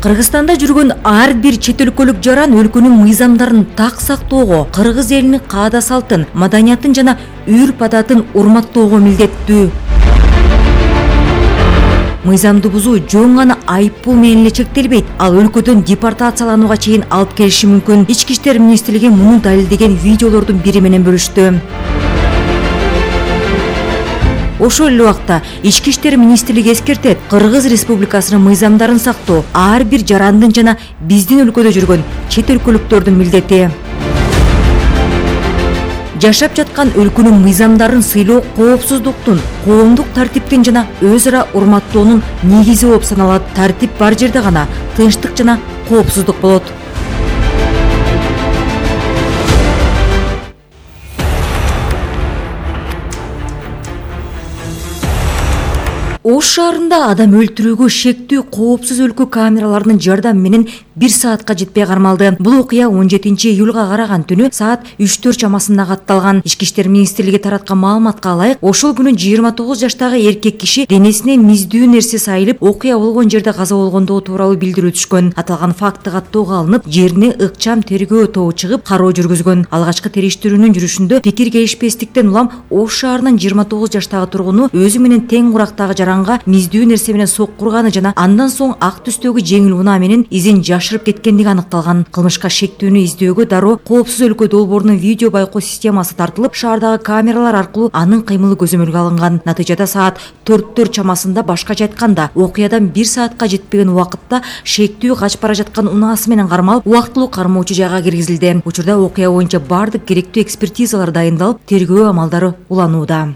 Кыргызстанда жүргөн ар бир чет өлкөлүк жаран өлкөнүн мыйзамдарын так сактоого, кыргыз элинин каада салтын, маданиятын жана үрп адатын урматтоого милдеттүү. Мыйзамды бузуу жөн гана айыппул менен эле чектелбейт, ал өлкөдөн депортацияланууга чейин алып келиши мүмкүн. Ички иштер министрлиги муну далилдеген видеолордун бири менен бөлүштү. Ошол эле убакта Ички иштер министрлиги эскертет, Кыргыз Республикасынын мыйзамдарын сактоо ар бир жарандын жана биздин өлкөдө жүргөн чет өлкөлүктөрдүн милдети. Жашап жаткан өлкөнүн мыйзамдарын сыйлоо коопсуздуктун, коомдук тартиптин жана өз ара урматтоонун негизи болуп саналат. Тартип бар жерде гана тынчтык жана коопсуздук болот. Ош шаарында адам өлтүрүүгө шектүү коопсуз өлкө камераларынын жардамы менен 1 саатка жетпей кармалды. Бул окуя 17 июлга караган түнү саат 3-4 чамасында катталган. Ички иштер министрлиги тараткан маалыматка ылайык, ошол күнү 29 жаштагы эркек киши денесине миздүү нерсе сайылып, окуя болгон жерде каза болгондугу тууралуу билдирүү түшкөн. Аталган факты каттоого алынып, жерине ыкчам тергөө тобу чыгып, кароо жүргүзгөн. Алгачкы териштирүүнүн жүрүшүндө пикир келишпестиктен улам Ош шаарынын 29 жаштагы тургуну өзү менен тең курактагы жаранга миздүү нерсе менен соккурганы жана андан соң ак түстөгү жеңил унаа менен изин жашырып кеткендиги аныкталган. Кылмышка шектүүнү издөөгө дароо коопсуз өлкө долбоорунун видео байкоо системасы тартылып, шаардагы камералар аркылуу анын кыймылы көзөмөлгө алынган. Натыйжада саат 4 чамасында, башкача айтканда, окуядан 1 саатка жетпеген убакытта шектүү качып бара жаткан унаасы менен кармалып, убактылуу кармоочу жайга киргизилди. Учурда окуя боюнча бардык керектүү экспертизалар дайындалып, тергөө амалдары уланууда.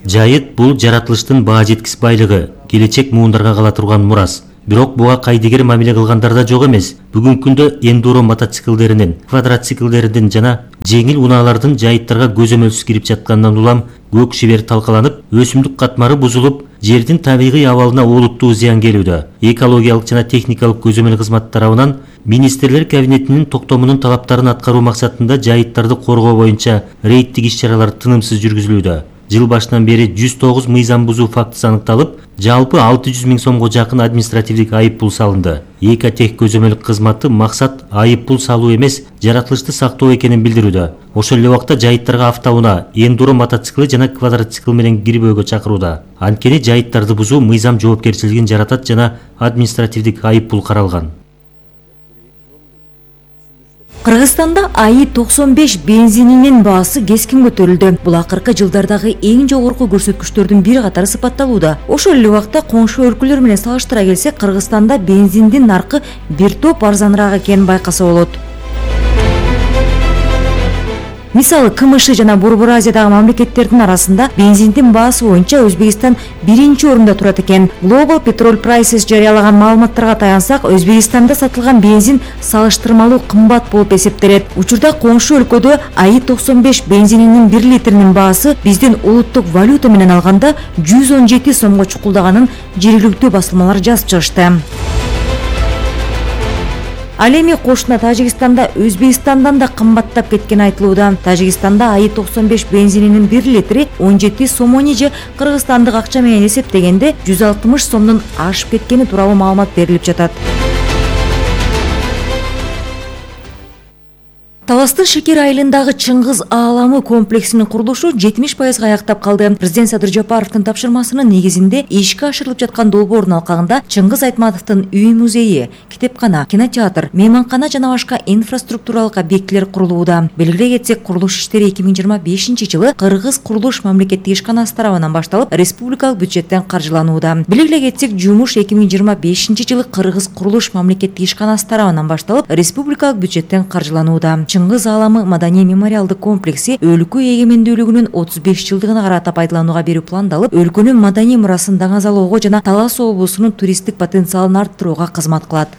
Жайыт бул жаратылыштын баа жеткис байлыгы, келечек муундарга кала турган мурас. Бирок буга кайдыгер мамиле кылгандар да жок эмес. Бүгүнкү күндө эндуро мотоциклдеринин, квадроциклдердин жана жеңил унаалардын жайыттарга көзөмөлсүз кирип жатканынан улам көк шибер талкаланып, өсүмдүк катмары бузулуп, жердин табигый абалына олуттуу зыян келүүдө. Экологиялык жана техникалык көзөмөл кызматы тарабынан министрлер кабинетинин токтомунун талаптарын аткаруу максатында жайыттарды коргоо боюнча рейдтик иш-чаралар тынымсыз жүргүзүлүүдө. Жыл башынан бери 109 мыйзам бузуу фактысы аныкталып, жалпы 600 000 сомго жакын административдик айыппул салынды. ЭКТех көзөмөл кызматы максат айыппул салуу эмес, жаратылышты сактоо экенин билдирүүдө. Ошол эле убакта жайыттарга автоунаа, эндуро мотоцикли жана квадроцикл менен кирбөөгө чакырууда. Анткени жайыттарды бузуу мыйзам жоопкерчилигин жаратат жана административдик айыппул каралган. Кыргызстанда АИ-95 бензининин баасы кескин көтөрүлдү. Бул акыркы жылдардагы эң жогорку көрсөткүчтөрдүн бири катары сыпатталууда. Ошол эле убакта коңшу өлкөлөр менен салыштыра келсек, Кыргызстанда бензиндин наркы бир топ арзаныраак экенин байкаса болот. Мисалы, КМШ жана Борбор Азиядагы мамлекеттердин арасында бензиндин баасы боюнча Өзбекстан 1-орунда турат экен. Global Petrol Prices жарыялаган маалыматтарга таянсак, Өзбекстанда сатылган бензин салыштырмалуу кымбат болуп эсептелет. Учурда коңшу өлкөдө АИ-95 бензининин 1 литринин баасы биздин улуттук валюта менен алганда 117 сомго чукулдаганын жергиликтүү басылмалар жазып чыгышты. Ал эми кошуна Тажикстанда Өзбекстандан да кымбаттап кеткени айтылууда. Тажикстанда АИ-95 бензининин 1 литри 17 сомони же кыргызстандык акча менен эсептегенде 160 сомдон ашып кеткени тууралуу маалымат берилип жатат. Таластын Шекер айылындагы Чыңгыз ааламы комплексинин курулушу 70% аяктап калды. Президент Садыр Жапаровдун тапшырмасынын негизинде ишке ашырылып жаткан долбоордун алкагында Чыңгыз Айтматовдун үй-музейи, китепкана, кинотеатр, мейманкана жана башка инфраструктуралык объектилер курулууда. Белгилей кетсек, курулуш иштери 2025-жылы Кыргыз курулуш мамлекеттик ишканасы тарабынан башталып, республикалык бюджеттен каржыланууда. Белгилей кетсек, жумуш 2025-жылы Кыргыз курулуш мамлекеттик ишканасы тарабынан башталып, республикалык бюджеттен каржыланууда. Чыңгыз ааламы маданий мемориалдык комплекси өлкө эгемендүүлүгүнүн 35 жылдыгына карата пайдаланууга берүү пландалып, өлкөнүн маданий мурасын даңазалоого жана Талас облусунун туристтик потенциалын арттырууга кызмат кылат.